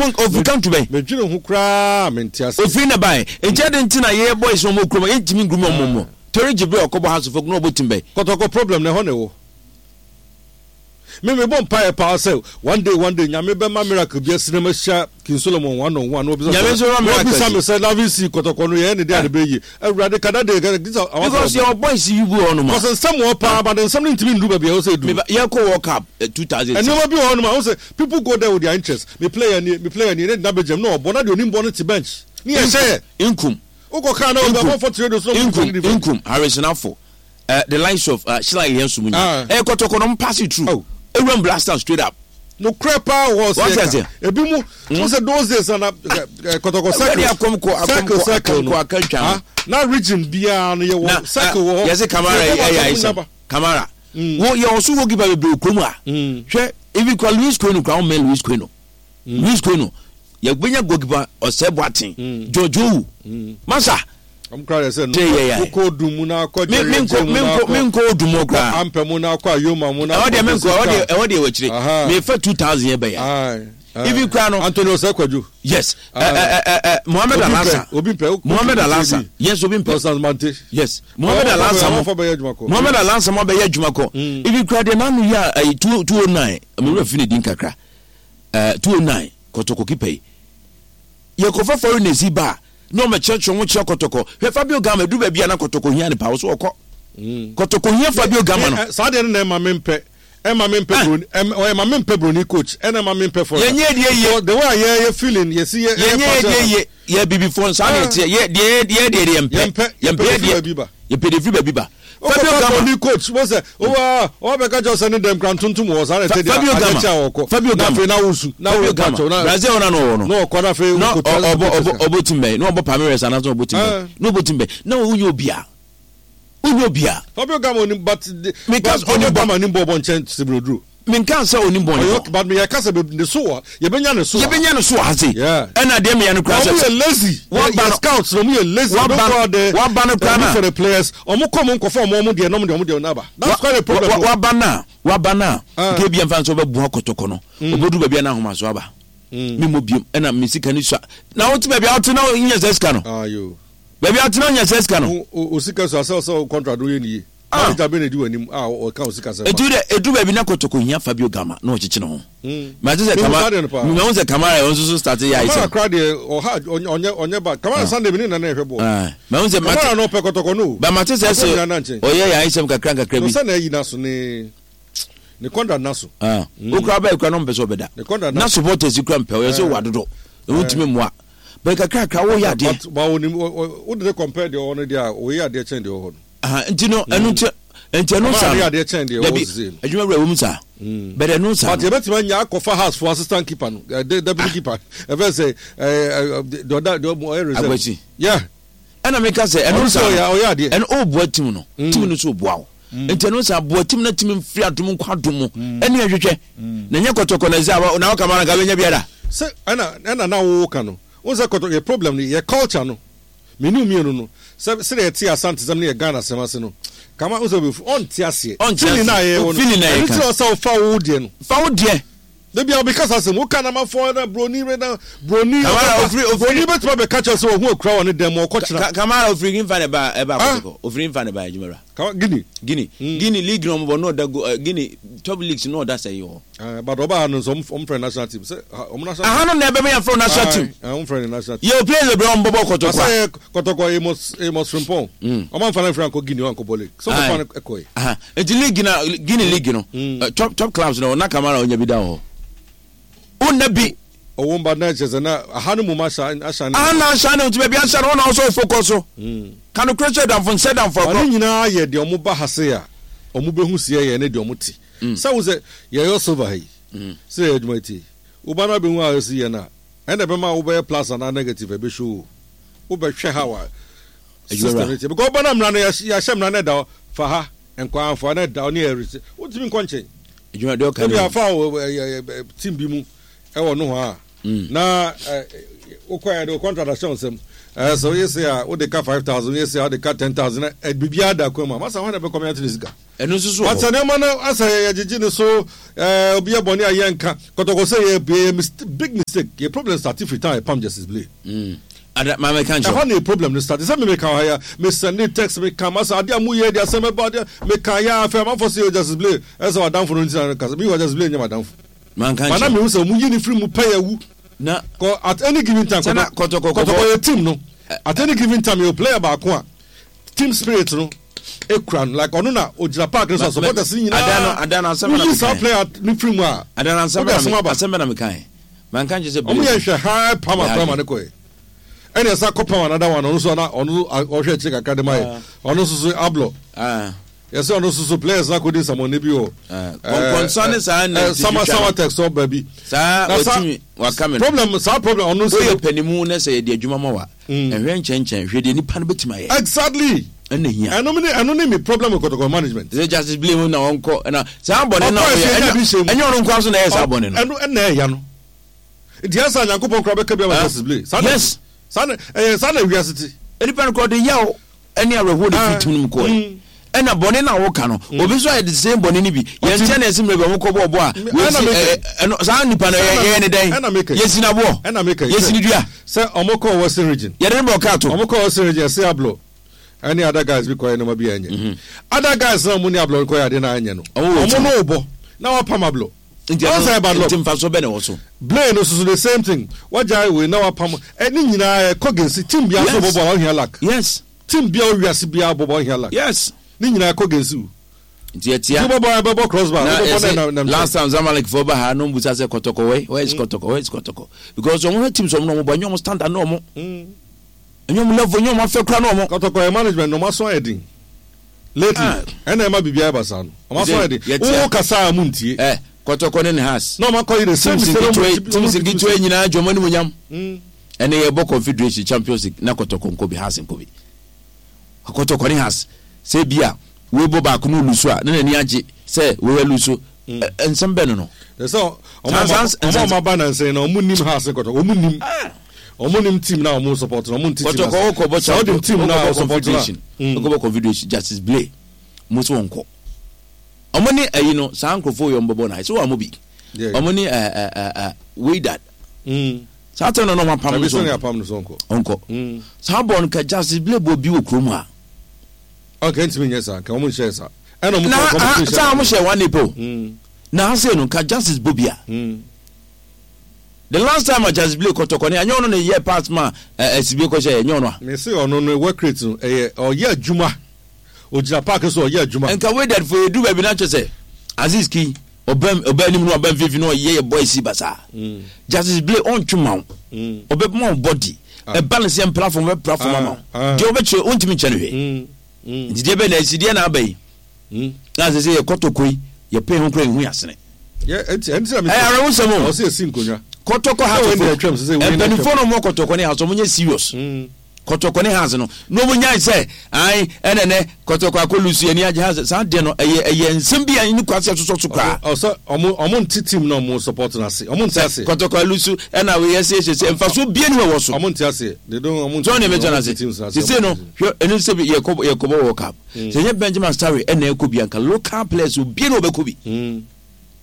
Ofiri country bɛn? Medwene ho koraa mente ase. Ofiri na bae. Nti adɛn nti na yɛyɛ boys na ɔmo kurom a yɛntumi ngurumi ɔmo mmɔ? Terry Jibril ɔkɔbɔ Hearts of Oak na ɔbɔ team bɛn? Kɔtɔkɔ problem no ɛhɔ na ɛwɔ. Me me bɔ mpaeɛ paa sɛ one day one day Nyame bɛma miracle bi asi na mahyia King Solomon one on one na wabisa Nyame nso ma na miracle wabisa si. me sɛ Loving Sea kɔtɔkɔ no yɛyɛ ne dɛn a ne bɛyɛ yie. Awurade ka that day ka this our Because yɛwɔ boys yi bi wɔ hɔnom a. Because nsɛm wɔ hɔ paa but nsɛm no ntumi nnuru baabi a ɛwɔ sɛ ɛduru. Meba yɛkɔ World Cup 2006. Nneɛma bi wɔ hɔnom a wohu sɛ people go there with their interest. Me player nie, me player nie, ne gyina bɛgyam na ɔbɔ na deɛ onim bɔ no te bench ne yɛhyɛ yɛ. Nkum. Wokɔ kaa na obi Nkum. abɔfo te radio so na ɔmo Nkum. different. Nkum. Harrison Afful. The likes of Sheila Ihenso mu nyinaa. Ɛyɛ kɔtɔkɔ na ɔmo pass it through. Oh. Ewuram Black Stars straight up. Nokorɛ paa wɔ Wate sɛ aseɛ? ka ebi mu wo sɛ those days na na kɔtɔkɔ Ɛwurade circle akɔmkɔ circle akɔmkɔ circle no akɔmkɔ akantwa no. ah, na region biara no yɛwɔ Na circle wɔ hɔ. yɛsɛ Kamara Yɛbɔ ɛyɛ baako ayisɛm. nyaba. Kamara. Wo yɛ ɔso goalkeeper bebree wɔ kurom a. Hwɛ even kura Luis Queno kura wɔn mɛ Luis Queno. Luis Queno yɛbɛnya goalkeeper ɔsɛ Boateng. George Owu. Masa. Ɔmo kura yɛ sɛ no. Tẹ yɛ yɛ. Wokɔ odum mu na akɔ Me Jerry me Agye nkɔ mu me na nkɔ me akɔ nkɔ odum hɔ koraa. Ampɛ mu na akɔ Ayoma mu na Ɛhɔ akɔ deɛ me nkɔ ɛhɔ deɛ Bosika. ɛhɔ deɛ wɔ akyire. Aha. Mefa 2000 yɛ bɛyɛ. Aye, aye. Even kura no. Anthony Osei Kwadwo. Yes. Aye. Ɛ ɛ ɛ ɛ Mohammed Obi mpɛ, Alhassan. obi mpɛ. Obi Mohammed mpɛ Alhassan. bi. Yes, obi mpɛ. Constance Mante. Yes. Mohammed Ɔwɔ Alhassan mo. ɔfɔ bɛyɛ adwuma kɔ. Mohammed Alhassan mo abɛyɛ adwuma kɔ. Even kura deɛ n'ano yɛ a ɛyi 209. Me wura fi ne din kakra. 209 kɔtɔkɔ kipa yi. Yɛkɔfa foreigners yi ba a na wɔn kyerɛkyerɛ wɔn kyerɛ kɔtɔkɔ. Hwɛ Fabio Gama edu baabi a na kɔtɔkɔ hia ne paa ɔso ɔkɔ. Kɔtɔkɔ hia Fabio Gama no. Saa deɛ no na ɛma me mpɛ ɛma me mpɛ broni ɛma me mpɛ broni coach ɛna ɛma me mpɛ foreigner. Yɛnyɛ deɛ yie. The way a yɛ yɛ feeling yɛsi yɛ yɛ Yɛnyɛ deɛ yie yɛ bibifoɔ nsaa na yɛteɛ yɛ deɛ yɛ deɛ deɛ yɛmpɛ. Yɛmpɛ yɛmpɛ deɛ firi baabi ba. Yɛpɛ deɛ firi baabi ba. Fabio Gama. Gama. Coach mo sɛ owa ɔba bɛka kyerɛ sɛ ne dɛm kura ntontom wɔ saa na ɛte deɛ Fabio Gama. adeɛ kyɛ a ɔkɔ. Fabio Na Gama. afei na wosu na Fabio wo Gama. kyɛw na Brazil na na ɔwɔ no. na ɔkɔ na afei Na wokotua ɔbɔ ɔbɔ sika. ɔbɔ team bɛn na ɔbɔ Palmeiras anaasɛ ɔbɔ team bɛn Ah. na ɔbɔ team bɛn na wonyɛ obia wonyɛ obia. Fabio Gama onim but Meka but sɛ Fabio onim bɔ- Gama nim bɔɔl bɔ nkyɛn Stephen Oduro. Menka sɛ onim bɔne Ɔyɛ bɔ. okay but meyɛ kasa bɛ ne so wɔ yɛbɛnya ne so wɔ. Yɛbɛnya ne so wɔ ha sei. Yeah. Ɛna deɛ meya no koraa Ɔmo sɛ yɛ lazy. Waba Yɛ no- scouts na ɔmo yɛ lazy. Waba They don't no- go out there waba no koraa and look na- for the players. Ɔmo kɔ ɔmo nkɔfa ɔmo ɔmo deɛ na ɔmo deɛ ɔmo deɛ naba. That's quite a problem. Waba no a waba no a Ah. nka ebia mfa nso wobɛboa kɔtɔkɔ no obɛduru baabi a na ahomaso aba memmɔ biom ɛna me sika no sua na wote baabi a wote na wonya saa sika no Ah yo. baabi a wote na wonya saa sika no O o sika so asɛ ɔsɛ contract no yɛ ne yie. Ah. Manager bɛ na edi w'anim a ɔka wo sika sɛ fa. Edu dɛ edu baabi na kotoko hia Fabio Gama na ɔkyekye ne ho. Mate sɛ Mehu Kama saa deɛ no paa. mehu sɛ Kamara ɔno nso so start yɛ ayɛ Kamara sɛ. koraa deɛ ɔha ɔnyɛ ɔnyɛ bad. Kamara Sunday me ne Nana ɛhwɛ bɔɔl. Ah, mahu sɛ mate Kamara no ɔpɛ kɔtɔkɔ no o. ba mate sɛ Akɔ sɛ nyinaa na nkyɛn. ɔyɛ yɛ ayɛsɛm kakra nkakra No bi. sɛ na ayi n'aso ne ne contract n'aso. Ah, wokura bɛyɛ kura na ɔmpɛ sɛ ɔbɛda. Ne contract Na n'aso. supporters yi kura mpɛ ɔyɛ sɛ wɔ adodo. Wontumi mmoa. Bɛyɛ kakra kakra woyɛ adeɛ. But but onim wode ne compare deɛ ɔwɔ no deɛ a ɔyɛ adeɛ kyɛn deɛ ɔwɔ hɔ no. Aha, nti no ɛno nti nti ɛno saa no dabi adwuma wura wɔm saa bɛdɛ ɛno saa but yɛbɛtumi anya akɔfa house for assistant keeper no deputy keeper ɛfɛ sɛ deɛ ɔda deɛ ɔyɛ reserve akwasi yeah ɛna meka sɛ ɛno saa no ɔyɛ adeɛ ɛno ɔboa team no team no so ɔboa wo nti ɛno saa boa team no team mfiri adom nkɔ adom mu ɛne ɛhwehwɛ na nyɛ kɔtɔkɔ na ɛsɛ na wɔka ma no nka bɛnya biara sɛ ɛna ɛna na woka no wo sɛ kɔtɔ yɛ problem no yɛ culture no Me ne wo mmienu no, sɛ sɛdeɛ yɛte Asantesɛm ne yɛ Ghanasɛm ase no, Kama wo sɛ ɔbɛfu, ɔnte aseɛ. Ɔnte Feeling no a aseɛ. yɛwɔ no, Feeling na ɛno yɛka. nti na ɔsɛ wofa wo deɛ no. Fa wo deɛ. Da biara meka saa asɛm, woka na amanfoɔ na broni wei na broni Kamara, ɔbɛba, ofiri- ofiri- broni bɛtumi abɛka kyerɛ sɛ wahu akura wɔ ne dan mu, ɔkɔ kyena. Ka- Kamara ofiri nfa na ɛba ɛba Ah. Kotoko. Ofiri nfa na ɛba adwuma wura. Kama, Guinea. Guinea. Guinea league na ɔmo bɔ na ɔda go eh, Guinea top leagues na ɔda sɛ yi hɔ. Eh, but ɔba ha no nso ɔmo ɔmo frɛ national team sɛ ha ɔmo national Aha no na ɛbɛma yɛafrɛ national team. Aye, ɔmo frɛ no national team. Yɛwɔ players bebree a ɔmo bɔbɔ kɔtɔkɔ Asa a. yɛ kɔtɔkɔ Amos Amos Frimpong. Ɔmo anfa no anfiri ankɔ Guinea ankɔ bɔ league. Sɛ ɔmo fa no ɛkɔɛ. Aha nti league na Guinea league no eh, top top clubs no na Kamara onya bi da wɔ hɔ. Wonna bi. Ɔwɔ mba na kyerɛ sɛ na aha no mom ahyɛ ahyɛ. Aha na ahyɛ no nti baabi ahyɛ no hɔ na ɔsɔ focus so. Ka nokorɛ kyerɛ damfo nsɛ damfo Ba agorɔ. ne nyinaa yɛ deɛ ɔmo ba ha se a ɔmo bɛhu seɛ yɛ ne deɛ ɔmo te. Sɛ wo sɛ yɛyɔ silver ha yi, sɛ yɛyɛ adwuma yi tie, wo ba no abɛhu a ɛsi yɛ no a, ɛna ɛbɛma wobɛyɛ plus anaa negative ɛbɛ show o. Wobɛhwɛ how a system no tie. Because woba na mmara no yɛahyɛ mmara no ɛda hɔ, fa ha, nkɔ amfa na ɛda hɔ ne yɛ wotumi nkɔ nkyɛn. Adwuma deɛ ɔka Ebi ne afa wo team bi mu ɛwɔ nohoa a, na Wokɔ yɛ de wo contract ahyɛ wo nsam. Ɛɛ sɛ woyɛ sei a wode ka 5,000, woyɛ sei a wode ka 10,000 na biribiara da kwan mu a, masa hwan na ɛbɛkɔ me ate ne sika? Ɛno nso so wɔ But hɔ. sɛ nneɛma no asɛ yɛgyegye ne so, ɛɛ obi yɛ bɔne a yɛnka. Kɔtɔkɔ sɛ yɛ yɛ mist big mistake. Yɛ problem start firi time a yɛpam Justice Blay. Mm. Ada ma mɛka nkyerɛ Ɛhɔ wo. na yɛ problem no start. Sɛ me meka wɔ ha yi a, me sɛnde text meka masa adeɛ a moyɛ de asɛm bɛba adeɛ meka yɛ a afei amanfoɔ sɛ yɛ Justice Blay ɛsɛ w'adamfo no nti na kasa. Meanwhile Justice Blay nyɛ m'adamfo. Manka But na nkyerɛ wo. mehu sɛ wɔyi no firi mu pɛ yɛ awu. Na Kɔ at any given time sɛ na kɔtɔ kɔtɔkɔ kɔtɔkɔ kɔbɔ yɛ team no at any given time yɛ player baako a team spirit no ekura no like ɔno na ogyina park no so a supporters no ada no nyinaa ada no asɛm na woyi saa mekae player no firi mu a ada no asɛm wode na asɛm me aba asɛm na mekae manka nkyerɛ sɛ ɔmo yɛ Blaze nhwɛ ha pam yɛ akora ma adwene ne kɔɛ ɛna ɛsa kɔ pam another one ɔno nso na ɔno ɔhwɛ akyire kakra de ma yɛ ah ɔno nso so ablɔ ah yɛsɛ ɔno nso so players na akɔdi nsɛmɔne bi wɔ ah kɔnkɔnsa ne saa na sama ntitwitwa sama no text hɔ baabi saa na sa watumi waka me no problem saa problem ɔno nso woyɛ panimu na sɛ yɛde adwuma ma wa ɛhwɛ nkyɛnkyɛn hwɛ deɛ nipa no bɛtumi ayɛ exactly ɛna hia ɛno ne ɛno ne mi problem with kɔtɔkɔ management sɛ Justice Blay na ɔnkɔ ɛna saa bɔne no ɔkɔ a ɛsɛ ɔyɛ ɛnya bi hyɛ mu ɛnyɛ ɔno nkoa so na ɛyɛ saa bɔne no ɛno ɛna ɛya no nti ɛsɛ nyankopɔn koraa bɛka bi ama Ah, Justice Blay saa na yes saa na ɛyɛ saa na wiase te nipa no kɔ ɔde yaw ɛne awerɛhoɔ na Ah, firi tim no mu kɔɛ ɛna bɔne no a woka no obi nso ayɛ the same bɔne no bi ɔte yɛnkyɛ na ɛsi mmerɛ bi ɔmo kɔ bɔɔbɔ a ɛna wɔsi meka ɛno saa nipa no ɛna yɛyɛ ne dɛn ɛna meka yɛsi n'aboɔ ɛna meka yɛsi sɛ ne dua sɛ ɔmo kɔɔ Western Region yɛde ne bɔ kaa to ɔmo kɔɔ Western Region ɛsɛ ablɔ ɛne other guys bi kɔyɛ nneɛma bi a ɛnyɛ other guys na ɔmo ne ablɔ kɔyɛ adeɛ na ɛnyɛ no ɔmo wɔ ɔmo team no bɔ na wapam ablɔ nti ɔn sɛ ɛno ɛba nti lɔ mfasoɔ bɛ na ɛwɔ so Blaine no soso the same thing wagyae wei na wapam ɛne nyinaa ɛkɔ gensi team bia so yes bɔbɔ a ɔhia luck yes team bia owiase bia bɔbɔ ɔhia luck yes ne nyinaa ɛkɔ gensi o nti nti ɛtia wobɛbɔ ɛbɛbɔ crossbar na wobɛbɔ na yɛsɛ ɛnam nam last nkyɛn time Zamalek fo ba ha no mbusa sɛ kɔtɔkɔ wɛ where is kɔtɔkɔ where is kɔtɔkɔ because ɔmo hwɛ teams ɔmo na ɔmo bɔ ɛnyɛ ɔmo standard na ɔmo ɛnyɛ ɔmo level ɛnyɛ ɔmo afɛ kora na ɔmo kɔtɔkɔ yɛ management na ɔmo aso ayɛ den lately ah ɛna ɛma biribiara ba saa no ɔmo aso ɛsɛ ayɛ den yɛtia wo kasa a mo ntie ɛ kɔtɔkɔ ne ne has na ɔmo akɔ yi the same teams mistake ɔmo nketewa repeat teams ɔmo repeat nketewa mistake nyinaa dwom anim nyam ɛne yɛbɔ confederation champions league na kɔtɔkɔ nkɔ bi has nkɔ bi kɔtɔkɔ ne has sɛ bi a wei bɔ baako no lusu a na n'ani agye sɛ wei alusu nsɛm bɛ no no sɛ ɔmo saa ɔmo saa ɔmo nsɛm aba nansa na ɔmo nim ha ase kɔtɔkɔ ɔmo nim ɔmo nim team na ɔmo support na ɔmo nti team kɔtɔkɔ ase wokɔbɔ sɛ ɔde champion team na wokɔbɔ ɔsupport na confederation wokɔbɔ confederation Justice Blay mo so wɔnkɔ ɔmo ne ayi no saa nkurɔfoɔ yɛ ɔmo bɛbɔ na ɛsɛ wɔn mo bi yeah ɔmo ne ɛ ɛ ɛ Wydad saa tɛn no na ɔmo apam ɛbi no so sɛ ne ɔnkɔ apam no so ɔnkɔ ɔnkɔ saa bɔɔl no ka Justice Blay bɔ bi wɔ kurom a ɔkɛ ntumi nyɛ saa nka ɔmo nhyɛ saa ɛna ɔmo na kɔ ha competition saa ɔmo hyɛ one nipa o na ha sei no ka Justice bɔ bi a the last time a Justice Blay kɔtɔkɔ ne anyɛ ɔno na yɛ pass ma ɛ ɛ sibe kɔhyɛ ɛnyɛ ɔno a mɛ se ɔno no work rate no ɛyɛ ɔyɛ adwuma ogyina park so ɔyɛ adwuma nka Wydad fo yɛdu baabi na kyerɛ sɛ Aziz Ki ɔbɛn ɔbɛn anim no ɔbɛn mfimfini no ɔyɛ yɛ boys basaa Justice Blay ɔntwe ma wo ɔbɛma wo body ɛba ne sɛ mpra fam ɔbɛpra fam ama wo deɛ ɔbɛkyerɛ ɔntumi nkyɛ no hwee nti deɛ bɛn na asi deɛ na aba yi na sɛ sɛ yɛ kɔtɔkɔ yi yɛpɛ ho kora yɛhu yɛasene yɛ ɛnti ɛnti na mi ɛyɛ awerɛhosɛm o ɔsɛ esi nkonnwa kɔtɔkɔ sɛ wɔn deɛ hatofo atwam sɛ sɛ wɔn mpanimfoɔ atwam no ɔmo kɔtɔkɔ ne house ɔmo nyɛ serious kɔtɔkɔ ne house no na ɔmo nyae sɛ ae ɛnɛ nɛ kɔtɔkɔ akɔ lusu ani agye house saa deɛ no ɛyɛ ɛyɛ nsɛm bi a ɛni kwasi ɛsosɔ so koraa ɔsɛ ɔmo ɔmo nte team na ɔmo support na ase ɔmo nte sɛ ase kɔtɔkɔ alusu ɛna wei ɛsɛ ɛsɛ sɛ mfasoɔ bie ni wɔ so ɔmo nte ase they don't ɔmo nte sɛ ɔne team mɛtwa ɔmo no nte ase teams na ase sese ɔmo no nte team hwɛ ɛno sɛ bi yɛkɔ yɛkɔbɔ world cup sɛ nyɛ Benjamin Asare ɛna ɛkɔ bi anka local players obie na ɔbɛkɔ bi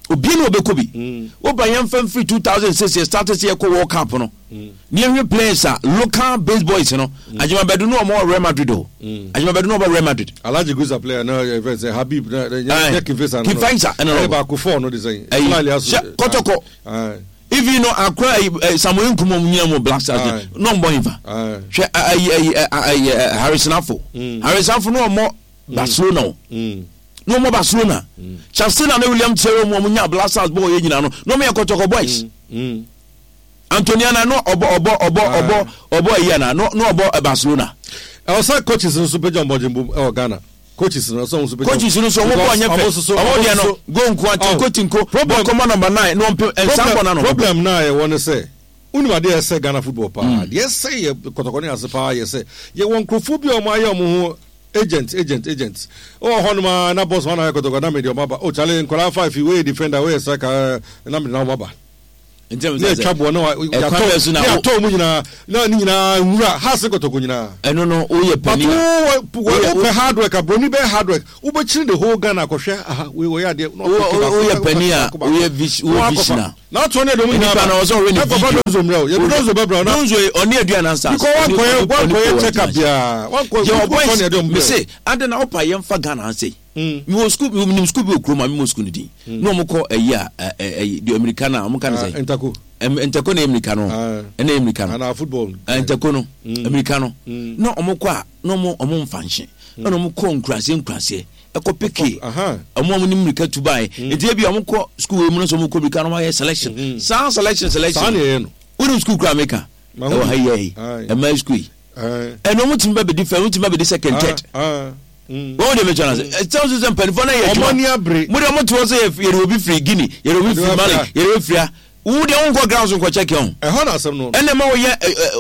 obie na ɔbɛkɔ bi woba yɛmfa mfiri 2006 yɛ start sɛ yɛkɔ world cup no ne yɛhwɛ players a local base boys no Agyema Badu no ɔmɔ Real Madrid o Agyema Badu no ɔbɔ Real Madrid Alhaji Guza player na yɛ fɛ sɛ Habib na nyɛ nyɛ Kinfesa no King Faisal ɛna ɛyɛ ɔbɔ baako fɔɔ no de sɛn ɛyi Fly Liaso hyɛ kɔtɔkɔ even no akora ayi Samuel Nkum ɔmo nyina mu Black Stars no na ɔmbɔ hinfa hwɛ ayi ayi ayi Harrison Afo Harrison Afo no ɔmɔ Barcelona o na ɔmɔ Barcelona Chastina ne William Thierry mu ɔmo nya Black Stars bɔɔl yɛ nyina no na ɔmo yɛ kɔtɔkɔ boys Antoniana no ɔbɔ ɔbɔ ɔbɔ ɔbɔ ɔbɔ ayi ana no no ɔbɔ Barcelona. Ɛwɔ sɛ coaches nso pagya wɔn bɔdwen bom ɛwɔ Ghana. Coaches no ɛsɛ wɔn nso pagya. Coaches no nso wɔn bɔ ɔnyɛ fɛ. Ɔmo deɛ no go nko a tinko tinko bɔ kɔmɔ number 9 na ɔmpem nsa bɔ na no. Problem na yɛwɔ ne sɛ wonim adeɛ ɛsɛ Ghana football paa. Deɛ ɛsɛ yɛ kɔtɔkɔ ne ase paa yɛ sɛ yɛwɔ nkurɔfoɔ bi a wɔn ayɛ wɔn ho agent agent agent. Wɔ hɔ nom a na boss wɔn ayɛ kɔtɔkɔ na mede wɔn aba. Oh chale nkwadaa 5 wei yɛ defender wei yɛ striker na mede na wɔn aba. Ne atwa boɔ na yɛatɔ ne yɛatɔ mu nyinaa na ne nyinaa nwura ha se kɔtɔkɔ nyinaa. Ɛno no woyɛ panin a. But wopɛ hard work a broni bɛyɛ hard work wobɛkyini the whole Ghana akɔhwɛ aha wei wɔyɛ adeɛ na ɔpeke baako woyɛ panin a woyɛ vision a. Na atoɔ ne ɛdɔm nyinaa ba. Nipa na ɔsɛ ɔhwɛ ne video. Ɛkɔfa Donzo mmerɛ o yɛde Donzo bɛbrɛ o na. Donzo yi ɔne Aduana Stars. Because wankɔyɛ wankɔyɛ check up biara wankɔ wokɔ ne ɛdɔm brɛ o. Mese adɛn na wopa yɛmfa Ghana ha sei. Mewɔ sukuu bi menim sukuu bi wɔ kurom a memmɔ sukuu no din na wɔn kɔ ɛyi a ɛyi deɛ mmirika no a wɔn ka no sɛ ntako ntako na ɛyɛ mmirika no ɛna ɛyɛ mmirika no anaa football ntako no mmirika no na wɔn kɔ a na wɔn wɔn mfa nhye ɛna wɔn kɔ nkuraseɛ nkuraseɛ ɛkɔ peke wɔn a wɔn ne mmirika tu baeɛ nti ebi a wɔn kɔ sukuu wɔ mu no sɛ wɔn kɔ mmirika no wɔn ayɛ selection saa selection selection saa na ɛyɛ no wɔn sukuu kura meka ɛwɔ ha yi yɛ ɛmaa sukuu yi ɛna wɔn tumi ba bɛdi fɛ wɔn tumi ba bɛdi second third. Wɔn deɛ mɛtwa n'ase. Ɛkyɛn so sɛ mpanimfoɔ no yɛ adwuma. Wɔn ani abere. Mo deɛ mo te hɔ sɛ yɛde obi firi Guinea, yɛde obi firi Mali, yɛde obi firi ha. Wo deɛ wonkɔ ground so nkɔ check ho. Ɛhɔ na asɛm no. Ɛna ɛma woyɛ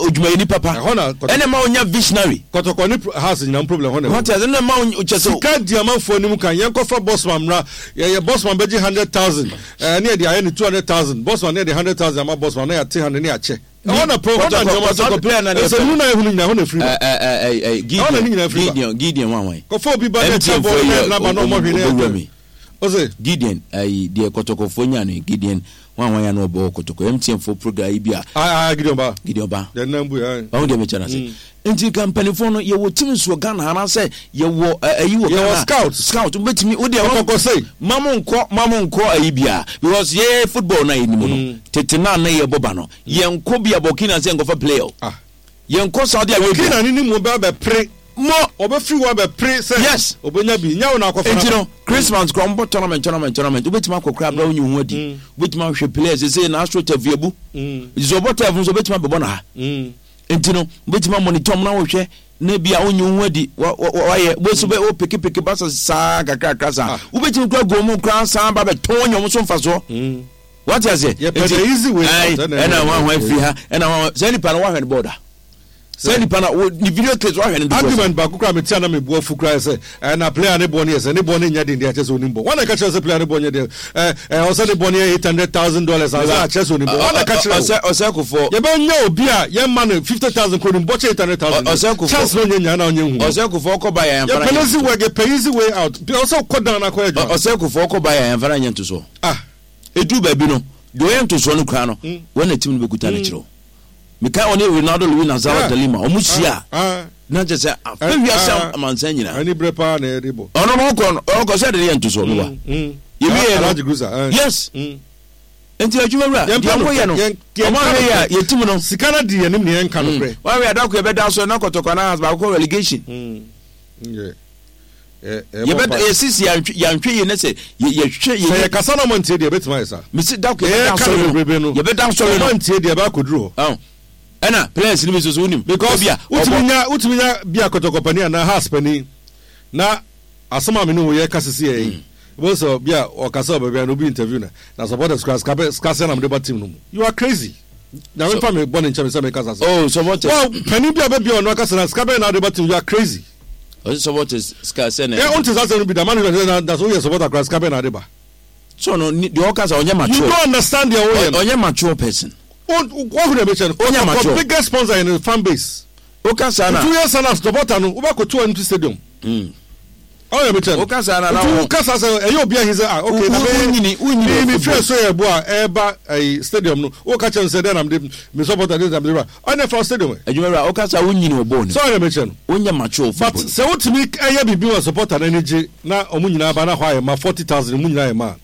odwumayɛni papa. Ɛhɔ na kɔtɔkɔ. Ɛna ɛma wonya visionary. Kɔtɔkɔ ne house nyinaa problem ɛhɔ na ɛwɔ. Wɔte ase ɛna ɛma wo kyɛ sɛ. Sika di amanfoɔ anim kan yɛn kɔfa bossman mmra yɛyɛ bossman bɛgye 100,000 ɛɛ ne yɛde ayɛ ne 200,000 bossman ne yɛde 100,000 ama bossman na yɛate 100 ne yɛakyɛ. Ɛhɔ na pro, ɛhɔ na nneɛma saa. Kɔtɔkɔ player na ne fɛ. Nsɛmunu na ehunu nyinaa ɛhɔ na efiri ba. Gideon Ɛhɔ na ne nyinaa firi ba. Gideon Gideon wan wan. Kɔfɔ obi ba na ɛkyɛ bɔɔl na ɛna ba na ɔmɔ hwee na ɛyɛ mi. Ose. Gideon ayi deɛ kɔtɔkɔfoɔ nya no Gideon wan wan ya na ɔbɔ kɔtɔkɔ MTN fo program yi bi a. Ah ah Gideon ba. Gideon ba. Deɛ nan bu yɛ. Ɔho deɛ mekyɛ na se. Nti nka mpanimfoɔ no yɛwɔ team nso wɔ Ghana anaasɛ yɛwɔ ayi wɔ Ghana. Yɛwɔ scout. Scout wobɛtumi wo deɛ Kɔtɔkɔ sei. Ma mo nkɔ ma mo nkɔ ayi bia because yɛ football na yɛnim no tete na na yɛbɔ ba no yɛnkɔ bia Burkina sɛ nkɔfa player o. Ah. Yɛnkɔ Saudi Arabia. Burkina ne ne mu bɛ abɛpere. Mo. Ɔbɛfiri hɔ abɛpere sɛ. Yes. Ɔbɛnya bi nyɛ wo na akɔfa Nti no Christmas koraa wɔbɔ tournament tournament tournament wobɛtumi akɔ koraa abira wonyi wo ho adi wobɛtumi ahwɛ players sɛ na astro turf yɛbu nti sɛ ɔbɔ turf nso wobɛtumi abɛbɔ no ha. Nti no, wobɛtumi amonitor wɔn na wohwɛ na ebi a wonyi wo ho adi, wayɛ, wobɛsi bɛ wopekepeke ba sa saa kakrakra saa. Ah. Wobɛtumi kura gu wɔn koraa saa ba bɛtɔn anya wɔn so mfasoɔ. Mm. Wate aseɛ? Yɛpɛ the easy way out. Ɛna wɔn ahoa firi ha, ɛna wɔn ahoa, saa nipa no wahwɛ no bɔɔda. Saa nipa no, ne video clips wahwɛ no dodoɔ. Argument baako koraa mete a na me bo afu koraa sɛ, ɛna player ne bɔ no yɛ sɛ ne bɔ no nyɛ den deɛ akyɛ sɛ onim bɔ. Wɔn na ɛka kyerɛ sɛ player ne bɔ nyɛ den. Ɛ ɛ ɔsɛ ne bɔ no yɛ $800,000 ansa akyerɛ sɛ onim bɔ. Wɔn na ɛka kyerɛ o. Ɔsɛ kofoɔ. Yɛbɛnya obi a yɛma no 50,000 kɔ onim bɔ kyɛ 800,000. Ɔsɛ kofoɔ. Chance na ɔnyɛ nya na ɔnyɛ hu. Ɔsɛ kofoɔ kɔ ba yɛ yɛn fana. Yɛpɛ easy way, yɛpɛ easy way out. Ɔsɛ kɔ dan na akɔyɛ adwuma. Ɔsɛ kofoɔ kɔ ba yɛ yɛn fana nyɛ ntosoɔ. Ah. Edu baabi no, deɛ ɔyɛ ntosoɔ no koraa no, wɔn na team no bɛkuta no kyerɛ o. Mekae ɔne Ronaldo Luis Nazário de Lima, wɔn hyia a, na kyerɛ sɛ afɛ wiase amansan nyinaa. Ani brɛ paa na ɛde bɔ. Ɔno no ɔkɔ no, ɔkɔ sɛ ɛde ne yɛ ntosoɔ no wa. Yɛwie no, yes. Nti adwuma wura, deɛ ɔmo yɛ no, ɔmo ahwɛ yɛ a, yɛtim no. Sika no di yɛn nim ne yɛn nka no korɛ. Wɔn ahwɛ adako yɛbɛda so na kɔtɔkɔ anaa baako kɔ relegation. Yɛbɛ yɛsisi yɛantwe yɛantwe yie ne sɛ yɛhwɛ yɛ. Sɛ yɛkasa na ɔmo ntie deɛ ebetumi ayɛ saa. Mesi da ko yɛbɛda asɔre no yɛbɛda asɔre no. Ɔmo ntie deɛ ɛbɛ akɔduru hɔ. Ɛna players no bi nso so wonim. Because wotumi nya wotumi nya bi a kɔtɔkɔ panin anaa house panin na asɛm a me ne wo yɛ ka sisi yɛ yi. Wọ́n sọ bi a ɔkasa wɔ baabi a na obi interview na na supporters kura sika bɛ sika sɛ na mo de ba team no mu. You are crazy. Nyame nfa me bɔ ne nkyɛn sɛ me kasa sɛ. Oh supporters. Well panin bi a bɛ bi a ɔno akasa na sika bɛyɛ na ɔde ba team you are crazy. Ɔsɛ supporters sika sɛ na. Ɛ ɔnte saa asɛm no bi da management sɛ na na sɛ woyɛ supporter koraa sika bɛn na ade ba. So no deɛ ɔka sɛ ɔnyɛ mature. You don't understand deɛ woyɛ no. Ɔnyɛ mature person. Wɔhu deɛ mekyɛ no. Ɔnyɛ mature. Biggest sponsor yɛ ne fan base. Woka saa na. Nti woyɛ saa na supporter no wobɛkɔto empty stadium. Mm. Ɔyɛ mekyɛ no. Woka saa na na. Nti woka saa sɛ ɛyɛ obi ahi sɛ ah okay na me. Wonyini wonyini. Mi mi fɛ so yɛ bo a ɛɛba ɛyi stadium no woka kyerɛ no sɛ dɛn na mede me supporter dɛn na mede ba Ɔnyɛ fa stadium ɛ. Adwuma wura, woka sɛ wonyini wɔ bɔɔl no mu. Sɛ ɔyɛ mekyɛ no. Wonyɛ mature football. But sɛ wotumi yɛ biribi ma supporter no ani gye na wɔn nyinaa ba na hɔ ayɛ ma 40,000 mu nyinaa yɛ ma a,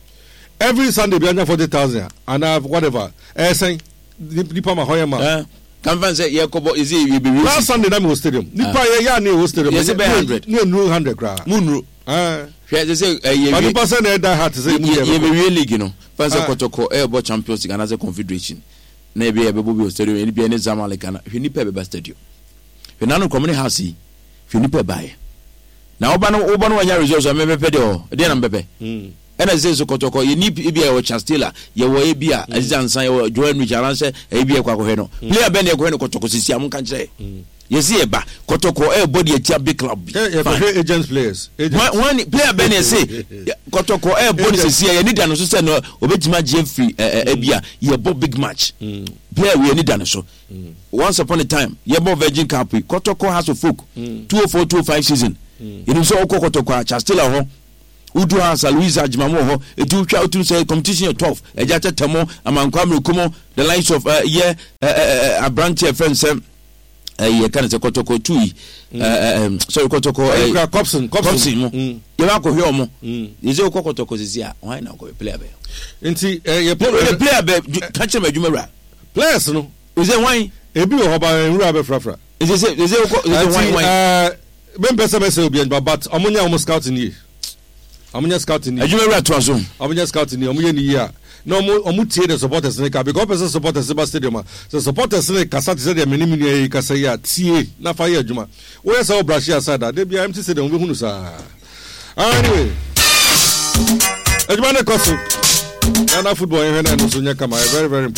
every Sunday biara nya 40,000 a anaa whatever a, ɛyɛ sɛn? Nipa ma hɔ yɛ ma. Eh, kan fan sɛ yɛkɔbɔ yɛsɛ yɛbɛwie. Last Sunday na mewɔ stadium. Nipa yɛ yɛ a ne yɛwɔ stadium. Yɛsɛ bɛyɛ 100. Ne nnuru 100 koraa. Mu nnuru. Eh. Hwɛ sɛ sɛ yɛwie. But nipa sɛ na ɛda heart sɛ emu yɛ. Yɛbɛwie league no. Fan sɛ kɔtɔkɔ ɛɛbɔ Champions League anaasɛ Confederation. Na ebi a yɛbɛbɔ bi wɔ stadium, ɛne bia ne Zamalek ana. Hwɛ nipa ɛbɛba stadium. Hwɛ nanu kɔm ne house yi. Hwɛ nipa ɛbaeɛ. Na woba no woba no wanya results a mɛbɛpɛ deɛ ɔ deɛ na mɛpɛ. Hmm. Ɛna sɛ so kɔtɔkɔ yɛ ni ebi a yɛwɔ Charles Taylor, yɛwɔ ebi a Aziz Ansan, yɛwɔ Joel Enrich anaasɛ ebi a yɛkɔ akɔhwɛ no. Hmm. Player bɛn na yɛkɔhwɛ no kɔtɔkɔ sisi a monka nkyerɛ. Hmm. Yɛsi yɛ ba Kɔtɔkɔ ɛɛbɔ de atia big club bi. Yɛ kɔhwɛ agents players. Wɔn player bɛn na ɛse Kɔtɔkɔ ɛɛbɔ ne sisi a yɛni da no so sɛ no obetumi agye afiri ɛɛ ɛbi a yɛbɔ big match. Player wei yɛni da no so. Once upon a time yɛbɔ Virgin Cup yi Kɔtɔkɔ Hearts of Oak 204 205 season. Yɛnim sɛ ɔkɔ Kɔtɔkɔ a Charles Taylor hɔ. Wodu ha sa Louisa Agyemang wɔ hɔ. Eti wotwa wotum sɛ competition yɛ tough. Agya Tɛtɛ mo, Amankwa Amiriko mo, the likes of uh, yɛ uh, uh, aberante a ɛfrɛ no sɛ ɛyɛ yɛka no sɛ kɔtɔkɔ tu yi sorry kɔtɔkɔ ɛyɛ kɔpsin kɔpsin mo yɛ bɛ akɔhwɛ ɔmo yɛ sɛ wokɔ kɔtɔkɔ sisi a wɔn na akɔhwɛ player bɛ. Nti ɛyɛ player bɛ ka kyerɛ mɛ adwuma wura. Players no. Ɛsɛ wɔn. Ebi wɔ hɔ ba nwura bɛ frafra. Ɛsɛ sɛ ɛsɛ wokɔ ɛsɛ wɔn wɔn. Me mpɛ sɛ mɛsɛ obi adwuma but ɔmo nyɛ ɔmo scouting yie. Ɔmo nyɛ scouting yie. Adwuma wura toa so. Ɔmo nyɛ scouting yie, ɔmo yɛ ne yie a na ɔmo ɔmo tie the supporters ne ka because ɔpɛ sɛ supporters ba stadium a sɛ supporters ne kasa te sɛ deɛ me ne me nua yi kasa yi a tie na fa yɛ adwuma. Woyɛ sɛ wo brush aside a da biara empty stadium wobɛhu no saa. Anyway, adwuma ne kɔ so. Ghana football yɛhwɛ na ɛno nso nyɛ kama, very very important.